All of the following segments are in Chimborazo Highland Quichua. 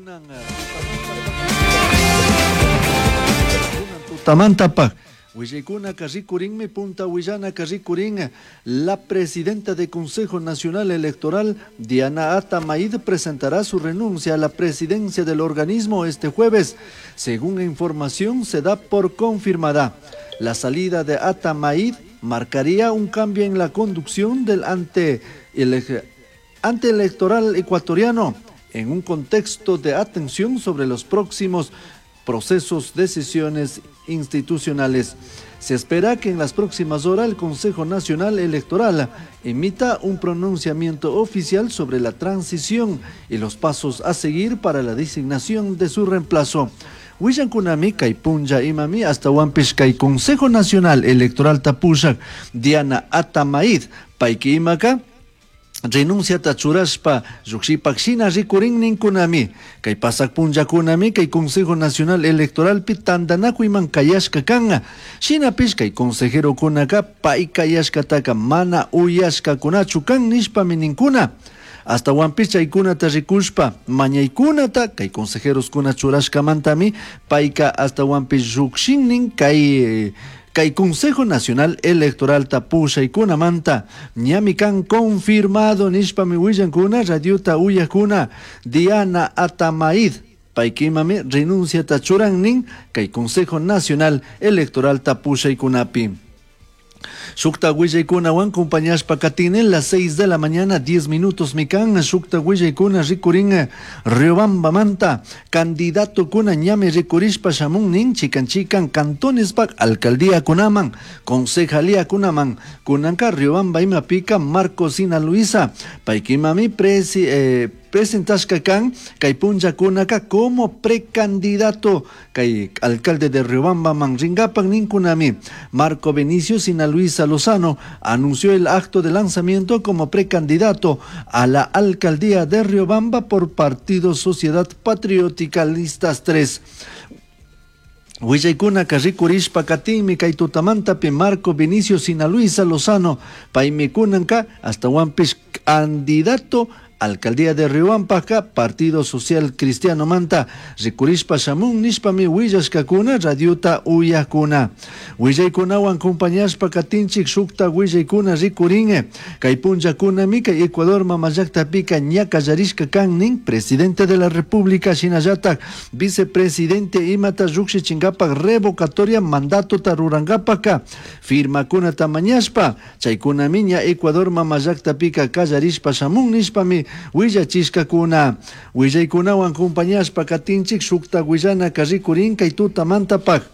Kunan tutamantapak willaykunaka rikurinmi, punta willanaka rikurin. La presidenta del Consejo Nacional Electoral, Diana Atamaid, presentará su renuncia a la presidencia del organismo este jueves. Según información, se da por confirmada. La salida de Atamaid marcaría un cambio en la conducción del ante electoral ecuatoriano en un contexto de atención sobre los próximos procesos, decisiones institucionales. Se espera que en las próximas horas el Consejo Nacional Electoral emita un pronunciamiento oficial sobre la transición y los pasos a seguir para la designación de su reemplazo. Willankunami kay punlla imami hasta kay Consejo Nacional Electoral tapushak Diana Atamaid payki imaka renunciata churashpa llukshipak shina rikurin ninkunami. Kay pasak punllakunami kay Consejo Nacional Electoralpi tantanakuyman kayashka kanka. Shinapish kay consejerokunaka pay kayashkataka mana uyashkakunachu kan nishpami ninkuna. Hasta chaykunata rikushpa mañaykunata kay consejeroskuna churashkamantami payka hasta llukshinnin kay Consejo Nacional Electoral pushaykunamanta ñami kan confirmado nishpami willankuna radiota uyakuna Diana Atamaid paykimami renunciata churannin kay Consejo Nacional Electoral pushaykunapi. Shukta willaykunawan compañashpa katinen las 6 de la mañana 10 minutos mikan. Shukta willaykuna rikurin Riobamba manta candidato kuna ñami rikurishpa shamun nin chikan chikan cantones pak alcaldía kunaman concejalía kunaman. Kunanka Riobamba imapika Marco Sina Luisa paykimami presentashka kan kay punlla kunaka como precandidato kay alcalde de Riobamba manringapan ninkunami. Marco Benicio Sina Luisa Lozano anunció el acto de lanzamiento como precandidato a la alcaldía de Riobamba por Partido Sociedad Patriótica Listas 3. Willaykuna rikurishpa katinmi kay tutamantapi Marco Benicio Sina Luisa Lozano paymi kunanka hasta candidato Alcaldía de Riobamba, Partido Social Cristiano Manta, rikurishpa shamun nishpami willashkakuna radiota uyakuna. Willaykunawan compañashpa katinchik shukta willaykuna rikurin. Kay punllakunami kay Ecuador mamallaqtapika ña kallarishka kan nin presidente de la República shinallatak vicepresidente imata llukshichinkapa revocatoria mandato rurankapaka firmakunata mañashpa chaykunami ña Ecuador mamallaqtapika kallarishpa shamun nishpami willachishkakuna. Willaykunawan compañashpa katinchik shukta willanaka rikurin kay tutamantapak.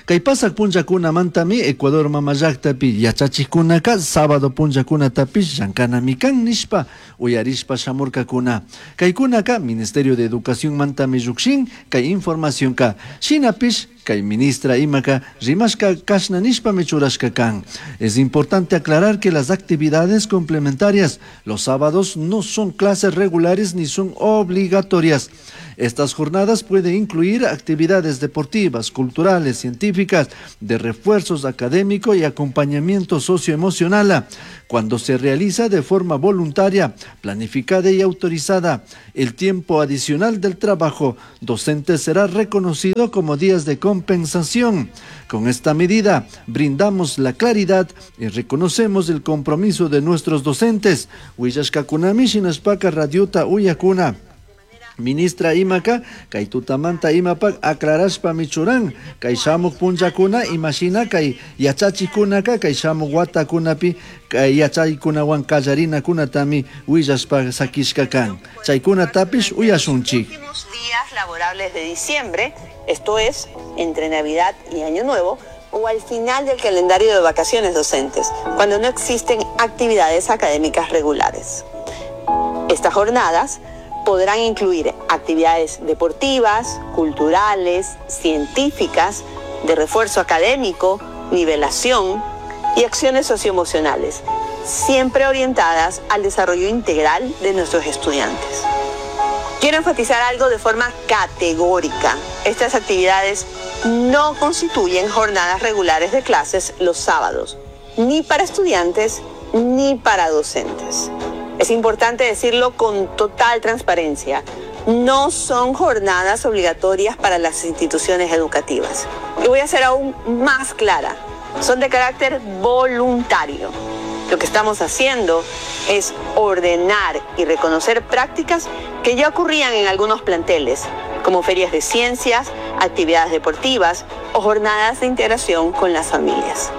Kay pasak punllakunamantami Ecuador mamallaqtapi yachachiqkunaka sábado punllakunatapish llankanami kan nishpa uyarishpa shamurkakuna. Kaykunaka Ministerio de Educación mantami llukshin kay informacionka shinapish kay ministra imaka rimashka kashna nishpami churashka kan. Es importante aclarar que las actividades complementarias los sábados no son clases regulares ni son obligatorias. Estas jornadas pueden incluir actividades deportivas, culturales, científicas, de refuerzos académico y acompañamiento socioemocional, cuando se realiza de forma voluntaria, planificada y autorizada. El tiempo adicional del trabajo docente será reconocido como días de compensación. Con esta medida brindamos la claridad y reconocemos el compromiso de nuestros docentes. Willashkakunami shinashpaka radiota uyakuna. Ministra imaka kay tutamanta imapak aclarashpa michuran kay shamuk punllakuna imashina kay yachachikunaka kay shamuk watakunapi kay yachaykunawan kallarinakunatami willashpa sakishka kan chaykunatapish uyashunchik. Últimos días laborables de diciembre, esto es entre Navidad y Año Nuevo, o al final del calendario de vacaciones docentes, cuando no existen actividades académicas regulares. Estas jornadas podrán incluir actividades deportivas, culturales, científicas, de refuerzo académico, nivelación y acciones socioemocionales, siempre orientadas al desarrollo integral de nuestros estudiantes. Quiero enfatizar algo de forma categórica. Estas actividades no constituyen jornadas regulares de clases los sábados, ni para estudiantes ni para docentes. Es importante decirlo con total transparencia. No son jornadas obligatorias para las instituciones educativas. Y voy a ser aún más clara, son de carácter voluntario. Lo que estamos haciendo es ordenar y reconocer prácticas que ya ocurrían en algunos planteles, como ferias de ciencias, actividades deportivas o jornadas de integración con las familias.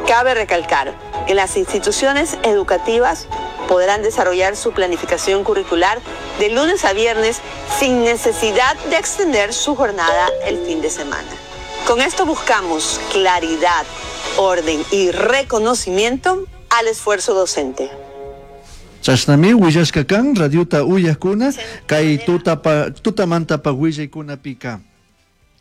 Cabe recalcar que las instituciones educativas podrán desarrollar su planificación curricular de lunes a viernes sin necesidad de extender su jornada el fin de semana. Con esto buscamos claridad, orden y reconocimiento al esfuerzo docente. Chashnami willashka kan radiota uyajkuna kay tutamantapa willaykunapika.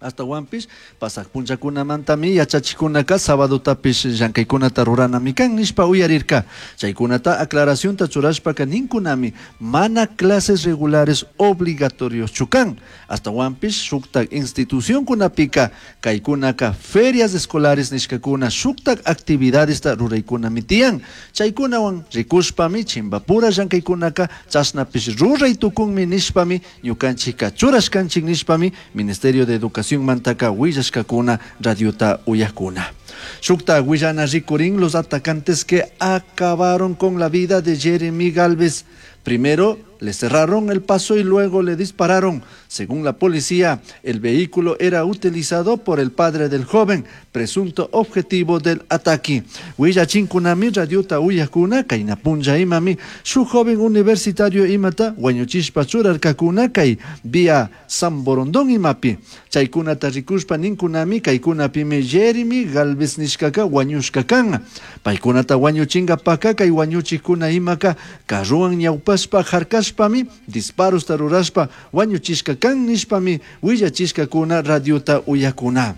Ashtawanpish pasaj punllakunamantami yachachikunaka sabadotapish llankaykunata ruranami kan nishpa uyarirka. Chaykunata aclaracionta churashpaka ninkunami mana clases regulares obligatorioschu kan. Ashtawanpish shuktak institucionkunapika kaykunaka ferias escolares nishkakuna shuktak actividadesta ruraykunami tiyan. Chaykunawan rikushpami chimbapura llankaykunaka chashnapish ruray tukunmi nishpami ñukanchikka churashkanchik nishpami Ministerio de Educación mantaka willashkakuna radiota uyajkuna. Shukta willana rikurin los atacantes que acabaron con la vida de Jeremy Galvez. Primero le cerraron el paso y luego le dispararon. Según la policía, el vehículo era utilizado por el padre del joven, presunto objetivo del ataque. Willachinkunami radiota uyajkuna kaynapunlla imami su joven universitario imata wañuchishpa churarkakuna kay vía Samborondón imapi. Chaykunata rikushpa ninkunami kaykunapimi Jeremy Galvez nishkaka wañushka kan. Paykunata wañuchinkapaka kay wañuchikuna imaka carruwan ñawpashpa harkashpami disparosta rurashpa wañuchishka kan nishpami willachishkakuna radiota uyakuna.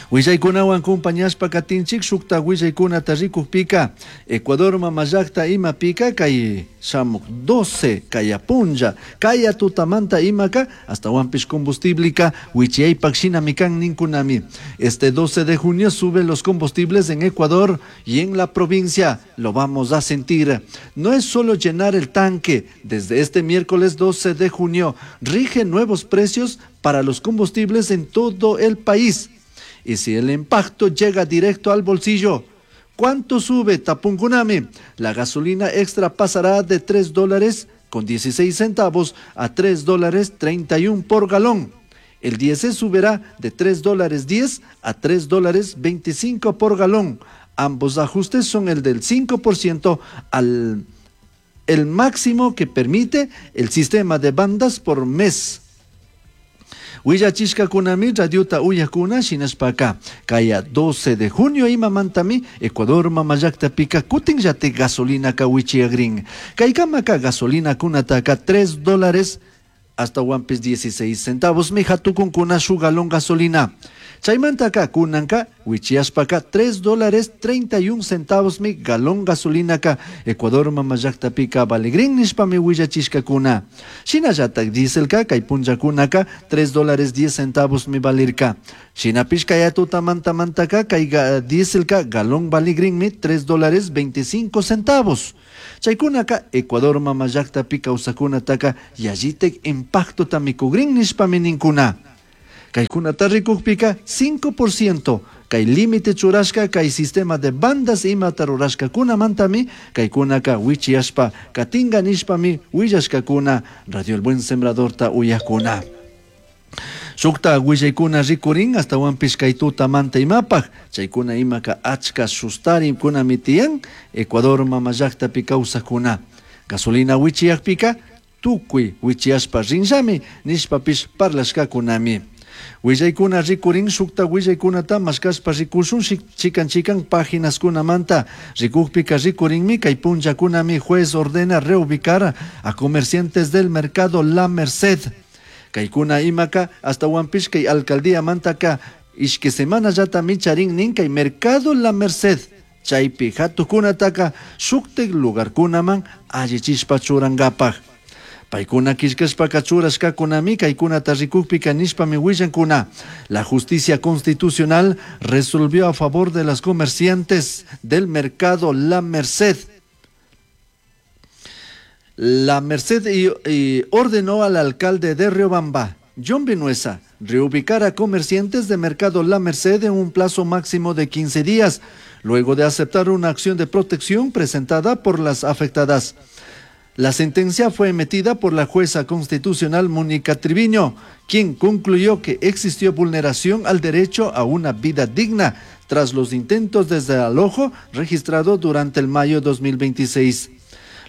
Willaykunawan compañashpa katinchik shukta willaykunata rikukpika Ecuador mamallakta imapika kay shamuk 12 kayapunlla kaya tutamanta imaka ashtawanpish combustibleka wichiyaypak shinami kan ninkunami. Este 12 de junio suben los combustibles en Ecuador y en la provincia lo vamos a sentir. No es solo llenar el tanque. Desde este miércoles 12 de junio rige nuevos precios para los combustibles en todo el país. Y si el impacto llega directo al bolsillo, ¿cuánto sube tapunkunami? La gasolina extra pasará de tres dólares con dieciséis centavos a tres dólares treinta y un por galón. El diésel subirá de tres dólares diez a tres dólares veinticinco por galón. Ambos ajustes son el del 5% al el máximo que permite el sistema de bandas por mes. Willachishkakunami radiota uyakuna shinashpaka kaya 12 de junio imamantami Ecuador mamallakta pika kutinllati gasolinaka wichiagrin. Kaykamaka gasolina kunataka tres dólares hasta wampis dieciséis centavos mijatukunkuna shu galón gasolina. Chaymantaka kunanka wichiashpaka tres dólares treinta y un centavos mi galón gasolinaka Ecuador mamallakta pika valigrin nishpami willachishkakuna. Shinallatak dieselka kay punllakunaka tres dólares diez centavos mi valirka. Shinapish kay tutamantamantaka kay dieselka galón valigrin mi tres dólares veinticinco centavos. Chaykunaka Ecuador mamallakta pika kawsakunataka yallitek impacto tamikugrin nishpami ninkuna. Kaykunata rikukpika 5% kay límite churashka kay sistema de bandas imata rurashkakunamantami kaykunaka wichiyashpa katinga nishpami willashkakuna Radio El Buen Sembradorta uyakuna. Shukta willaykuna rikurin ashtawanpish kay tutamanta imapaj chaykuna imaka achka sustarinkunami tiyan Ecuador mamallaktapi kawsakuna. Gasolina wichiyakpika tukuy wichiyashpa rinllami nishpapish parlashkakunami. Willaykuna rikurin shukta willaykunata mashkashpa rikushun chikan chikan páginaskunamanta rikukpika rikurinmi kay punllakunami juez ordena reubicar a comerciantes del mercado La Merced. Kaykuna imaka ashtawanpish kay alcaldía mantaka ishki semana yatami charin nin kay mercado La Merced. Chaypi hatukunataka shuktik lugarkunaman allichishpa churankapaj. Paykuna killkashpaka churashkakunami kaykunata rikukpika nishpami willankuna. La justicia constitucional resolvió a favor de las comerciantes del mercado La Merced. La Merced y ordenó al alcalde de Riobamba, John Vinuesa, reubicar a comerciantes de Mercado La Merced en un plazo máximo de 15 días, luego de aceptar una acción de protección presentada por las afectadas. La sentencia fue emitida por la jueza constitucional Mónica Triviño, quien concluyó que existió vulneración al derecho a una vida digna tras los intentos de desalojo registrado durante el mayo 2026.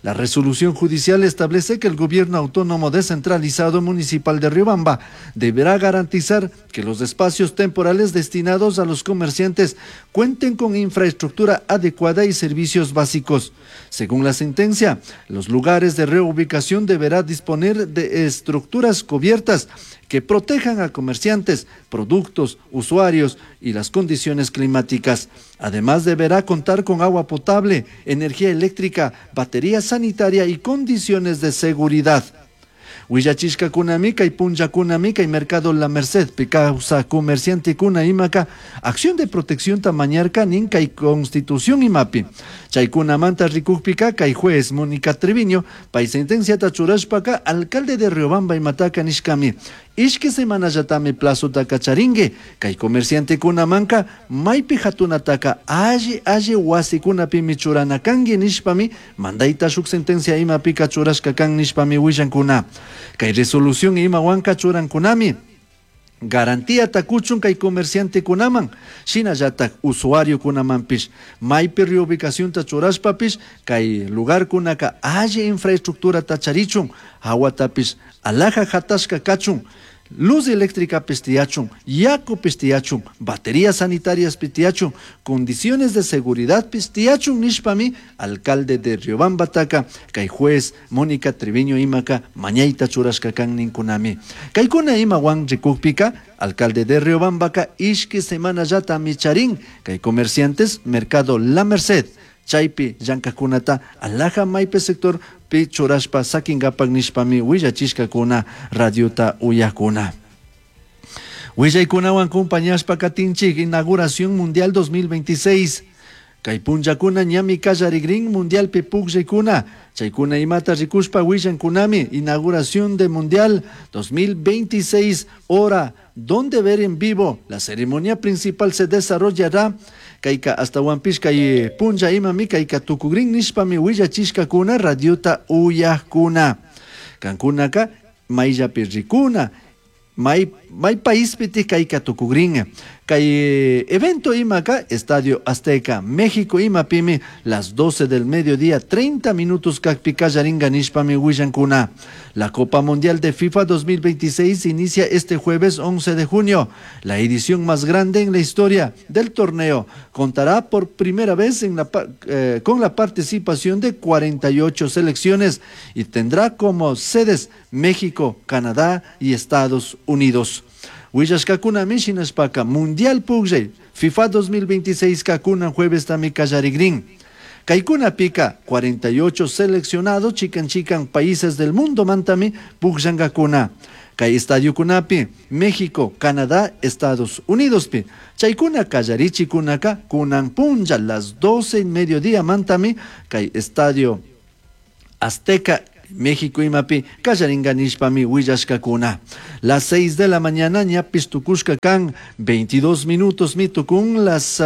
La resolución judicial establece que el gobierno autónomo descentralizado municipal de Riobamba deberá garantizar que los espacios temporales destinados a los comerciantes cuenten con infraestructura adecuada y servicios básicos. Según la sentencia, los lugares de reubicación deberán disponer de estructuras cubiertas que protejan a comerciantes, productos, usuarios y las condiciones climáticas. Además, deberá contar con agua potable, energía eléctrica, batería sanitaria y condiciones de seguridad. Willachishkakunami kay punllakunami kay Mercado La Merced kawsaj comerciantekuna imaka acción de protección mañarka nin kay constitución imapi. Chaykunamanta rikukpika kay juez Mónica Treviño pay sentenciata churashpaka alcalde de Riobamba imataka nishkami. Ishki semanallatami plazotaka charinki kay comerciantekunamanka maypi hatunataka alli alli wasikunapimi churana kanki nishpami mandayta shuk sentencia imapika churashka kan nishpami willankuna. Kay resolución imawanka churankunami. Garantía kuchun kay comerciantekunaman, shinallatak usuariokunamanpish, maypi reubicacionta churashpapish, kay lugarkunaka alli infraestructurata charichun, hawatapish alhaja hatashka kachun, luz eléctrica tiyachun, yaku tiyachun, baterías sanitarias tiyachun, condiciones de seguridad tiyachun nishpami, alcalde de Riobambataka, kay juez Mónica Treviño imaka, mañayta churashka kan ninkunami. Kaykuna imawan rikukpika, alcalde de Riobambaka, ishki semanallatami charin, kay comerciantes, Mercado La Merced, chaypi llankajkunata alhaja maypi sector pi churashpa sakinkapak nishpami willachishkakuna radiota uyakuna. Willaykunawan compañashpa katinchik inauguración mundial 2026. Kay punllakuna ñami kallarigrin mundialpi pukllaykuna. Chaykuna imata rikushpa willankunami inauguración de mundial 2026 hora donde ver en vivo. La ceremonia principal se desarrollará kayka ashtawanpish kay punlla imami kayka tukugrin nishpami willachishkakuna radiota uyajkuna. Kankunaka mayllapi rikuna may may paispiti kayka tukugrin. Kay evento imaka Estadio Azteca, México imapimi las 12 del mediodía 30 minutos kakpi kallaringa nishpami willankuna. La Copa Mundial de FIFA 2026 inicia este jueves 11 de junio. La edición más grande en la historia del torneo contará por primera vez en la, con la participación de 48 selecciones y tendrá como sedes México, Canadá y Estados Unidos. Willashkakunami shinashpaka Mundial Pugllay FIFA 2026 kakuna jueves tami kallarigrin. Kaykunapika 48 seleccionados chikan chikan países del mundo mantami pugllangakuna. Kay estadiokunapi México, Canadá, Estados Unidos pi. Chaykuna kallarichikunaka kunan punlla las 12 y mediodía mantami kay estadio Azteca México imapi kallaringa nishpami willashkakuna. Las 6 de la mañana ñapis tukushka kan 22 minutos mitukun las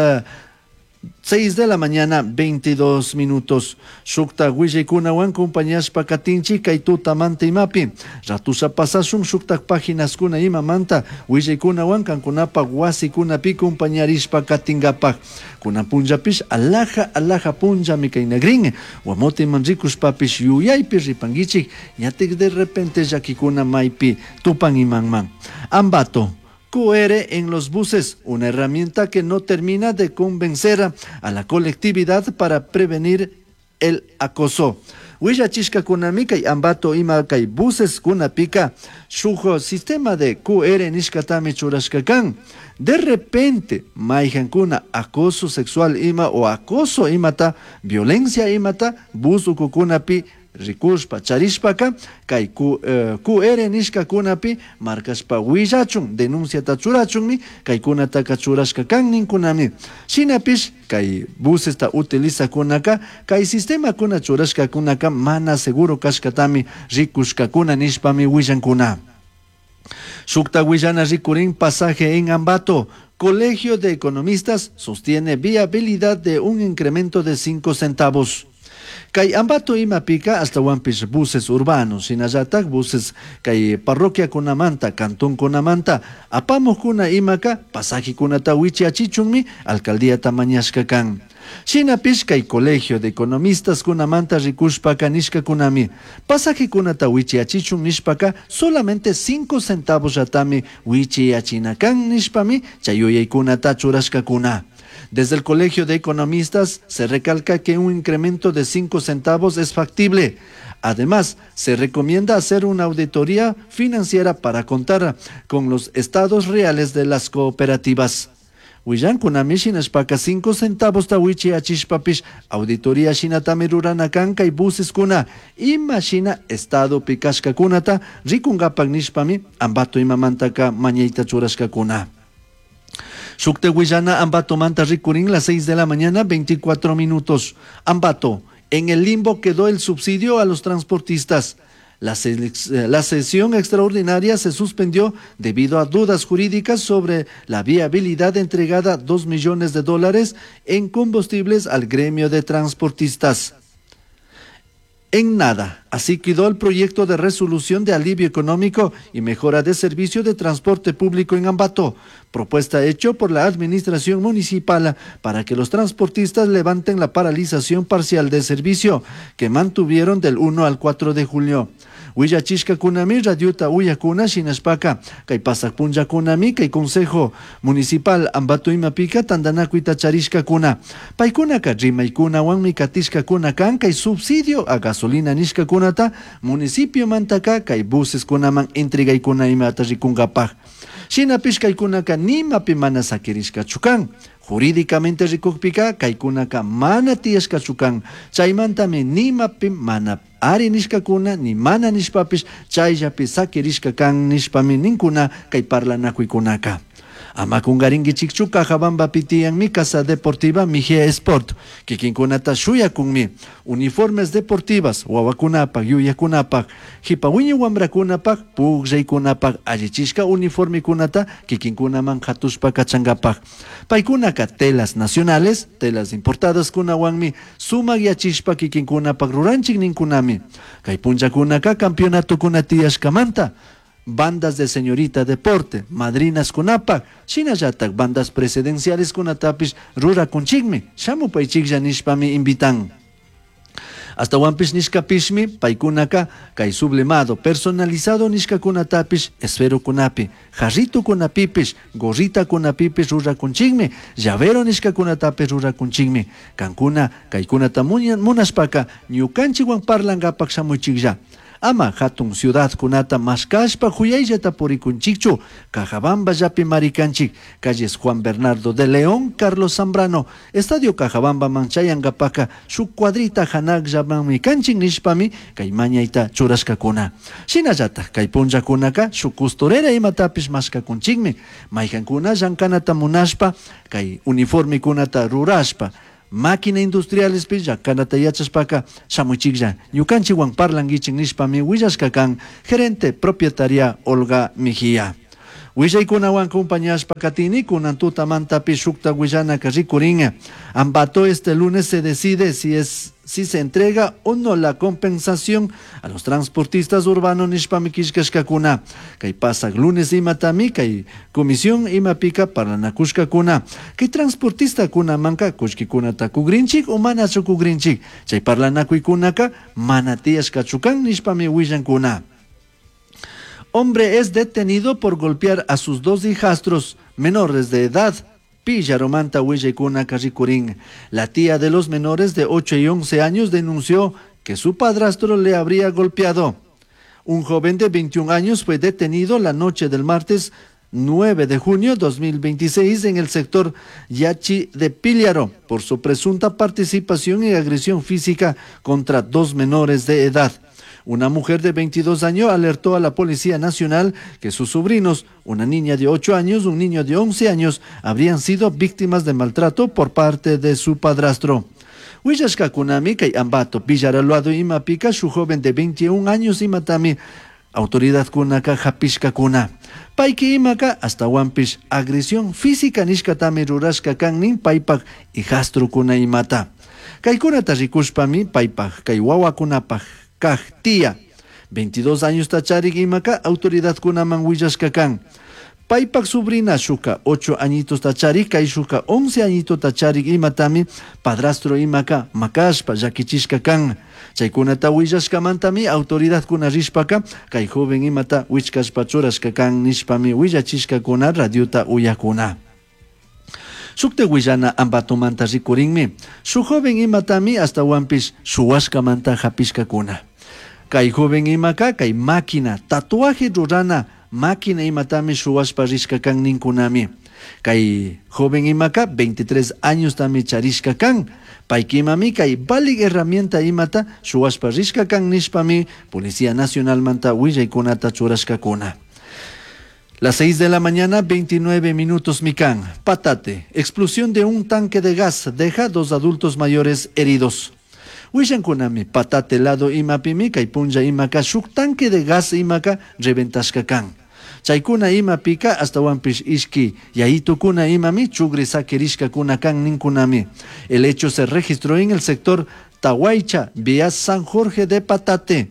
6 de la mañana 22 minutos. Shukta willaykunawan compañashpa katinchik kay tutamanta imapi. Ratusha pasashun shuktak páginaskuna imamanta willaykunawan kankunapaq wasikunapi compañarishpa katinkapak. Kunan punllapish alhaja alhaja punllami kaynagrin. Wamotiman rikushpapish yuyaypi ripankichik ñatik de repente llakikuna maypi tupan imanman. Ambato. QR en los buses, una herramienta que no termina de convencer a la colectividad para prevenir el acoso. Willachishkakunami kay Ambato ima kay buses kunapika shuk sistema de QR nishkatami churashka kan. De repente, mayhankuna acoso sexual ima o acoso imata, violencia imata, bus ukukunapi Ricushpa, charishpaca kay QR nishkakunapi marcashpa willachun, denunciata churachunmi kaykunataka churashka kan ninkunami. Shinapish kay busesta utilizakunaka kay sistemakuna churashkakunaka mana seguro kashkatami rikushkakuna nishpami willankuna. Shukta willana rikurin pasaje en Ambato. Colegio de Economistas sostiene viabilidad de un incremento de 5 centavos. Kay Ambato imapika astawanpish buses urbanos, shinallatak buses kay parroquiakunamanta, cantonkunamanta, apamuqkuna imaka pasajekunata wichiachichunmi alcaldíata mañashka kan. Shinapish kay Colegio de Economistas kunamanta rikushpaka nishkakunami pasajekunata wichiachichun nishpaka solamente 5 centavos llatami wichiachina kan nishpami chay yuyaykunata churashkakuna. Desde el Colegio de Economistas se recalca que un incremento de 5 centavos es factible. Además, se recomienda hacer una auditoría financiera para contar con los estados reales de las cooperativas. Willankunami shinashpaka 5 centavos ta wichiachishpapish auditoría shinatami rurana kan kay buseskuna ima shina estadopi kashkakunata rikunkapak nishpami Ambato imamantaka mañayta churashkakuna. Shukte willana Ambato manta rikurin las 6 de la mañana, 24 minutos. Ambato, en el limbo quedó el subsidio a los transportistas. La sesión extraordinaria se suspendió debido a dudas jurídicas sobre la viabilidad entregada 2 millones de dólares en combustibles al gremio de transportistas. En nada, así quedó el proyecto de resolución de alivio económico y mejora de servicio de transporte público en Ambato, propuesta hecha por la administración municipal para que los transportistas levanten la paralización parcial de servicio que mantuvieron del 1 al 4 de julio. Willachishkakunami radiota uyakuna shinashpaka kay pasak punllakunami kay Consejo Municipal Ambato imapika tantanakuyta charishkakuna paykunaka rimaykunawanmi katishkakuna kan kay subsidio a gasolina nishkakunata municipio mantaka kay buseskunaman entregaykuna imata rikunkapak. Shinapish kaykunaka nimapi mana sakirishkachu kan. Jurídicamente rikukpika kaykunaka mana tiyashkachu kan. Chaymantami nimapi mana ari nishkakuna ni mana nishpapish chayllapi sakirishka kan nishpami ninkuna kay parlanakuykunaka. Ama kungarinkichikchu Cajabambapi tiyanmi Casa Deportiva Mejía Sport. Kikinkunata shuyakunmi. Uniformes deportivas, wawakunapak, yuyakunapak, hipa wiñay wamrakunapak, pukllaykunapak, allichishka uniformekunata kikinkunaman hatushpa kachankapak. Paykunaka telas nacionales, telas importadas kunawanmi sumak yachishpa kikinkunapak ruranchik ninkunami. Kay punllakunaka campeonatokuna tiyashkamanta. Bandas de señorita deporte, madrinas kunapak, shinallatak bandas presidenciales kunatapish rurakunchikmi, shamupaychiklla nishpami invitan. Astawanpish nishkapishmi paykunaka kay sublimado personalizado nishkakunatapish esferokunapi, jarritokunapipish, gorritakunapipish rurakunchikmi, llavero nishkakunatapish rurakunchikmi. Kankuna kaykunata munashpaka ñukanchikwan parlankapak shamuychiklla. Ama hatun ciudadkunata mashkashpa huyayllata purikunchikchu, Cajabamba llapi marikanchik, calles Juan Bernardo de León, Carlos Zambrano, Estadio Cajabamba manchayankapaka shuk cuadrita hanakllamanmi kanchik nishpami kay mañayta churashkakuna. Shinallatak kay punllakunaka shuk costurera imatapish mashkakunchikmi, maykankuna llankanata munashpa kay uniformekunata rurashpa, máquina industriales pi llankanata yachashpaka shamuychiklla ñukanchikwan parlankichik nishpami willashka kan gerente propietaria Olga Mejía. Willaykunawan acompañashpa katini kunan tutamantapi shukta willanaka rikurin. Ambato este lunes se decide si se entrega o no la compensación a los transportistas urbanos nishpami killkashkakuna. Kay pasak lunes imatami kay comisión imapika parlanakushkakuna. Kay transportistakunamanka kullkikunata kugrinchik o manachu kugrinchik. Chay parlanakuykunaka mana tiyashkachu kan nishpami willankuna. Hombre es detenido por golpear a sus 2 hijastros menores de edad. Pillaromanta willaykuna karrikurin. La tía de los menores de 8 y 11 años denunció que su padrastro le habría golpeado. Un joven de 21 años fue detenido la noche del martes 9 de junio 2026 en el sector Yachi de Píllaro por su presunta participación en agresión física contra dos menores de edad. Una mujer de 22 años alertó a la Policía Nacional que sus sobrinos, una niña de 8 años, un niño de 11 años, habrían sido víctimas de maltrato por parte de su padrastro. Huillashkakunami kay Ambato, Villaraloado imapika shuk joven de 21 años imatami autoridadkunaka hapishkakuna. Payki imaka ashtahuanpish agresión física nishkatami rurashka kan nin paypak hijastrokuna imata. Kaykunata rikushpami paypak kay wawakunapak kaj tía 22 años charik imaka autoridadkunaman willashka kan. Paypak sobrina shuka 8 añitos charik kay shuka 11 añito charik imatami padrastro imaka makashpa llakichishka kan. Chaykunata willashkamantami autoridadkuna rishpaka kay joven imata wichkashpa churashka kan nishpami willachishkakuna radiota uyakuna. Shukta willana Ambatomanta rikurinmi. Shuk joven imatami ashtahuanpish shuwashkamanta hapishkakuna. Kay joven imaka kay máquina tatuaje rurana máquina imatami shuwashpa rishka kan ninkunami. Kay joven imaka 23 años tami charishka kan. Paykimami kay valik herramienta imata shuwashpa rishka kan nishpami Policía Nacional manta willaykunata churashkakuna. Las 6 de la mañana, 29 minutos, Micán. Patate. Explosión de un tanque de gas deja dos adultos mayores heridos. Willankunami, patate lado imapimi, kay punlla imaka, shuk tanque de gas imaka, reventashka kan. Chaykuna imapika, ashtahuanpish ishki, yayitukuna imami, chugri sakirishkakuna kan ninkunami. El hecho se registró en el sector Tahuaycha, vía San Jorge de Patate.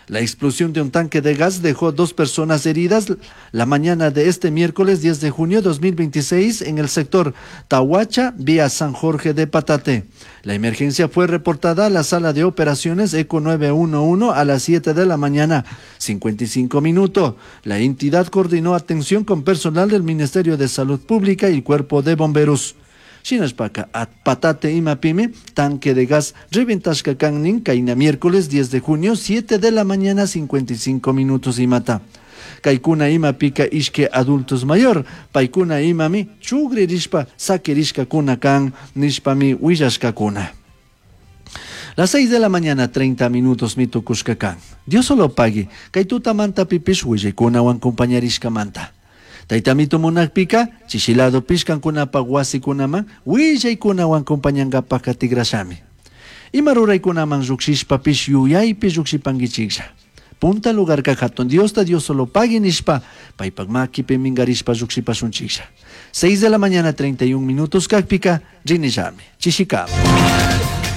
La explosión de un tanque de gas dejó dos personas heridas la mañana de este miércoles 10 de junio de 2026 en el sector Tahuacha, vía San Jorge de Patate. La emergencia fue reportada a la sala de operaciones ECO 911 a las 7 de la mañana, 55 minutos. La entidad coordinó atención con personal del Ministerio de Salud Pública y el Cuerpo de Bomberos. Shinashpaka at patate imapimi, tanque de gas reventashka kan kayna miércoles 10 de junio, 7 de la mañana, 55 minutos imata. Kaykuna imapika ishke adultos mayor, paykuna imami chugririshpa sakirishkakuna kan nishpami willashkakuna. Las 6 de la mañana, 30 minutos mitukushka kan. Dios solo pague, kay tutamanta pipish willaykunawan compañarishkamanta. Taytamito munakpika, chishilado pishkankunapaq wasikunaman, willaykunawan compañankapaq katigrashami. Ima ruraykunaman lluqshishpapish yuyaypi lluqshipankichiklla. Punta lugarka hatun Diosta Dios solo pague nishpa, paypak makipi minkarishpa lluqshipashunchiklla. 6 de la mañana, 31 minutos kakpika, rinillami. Chishikama.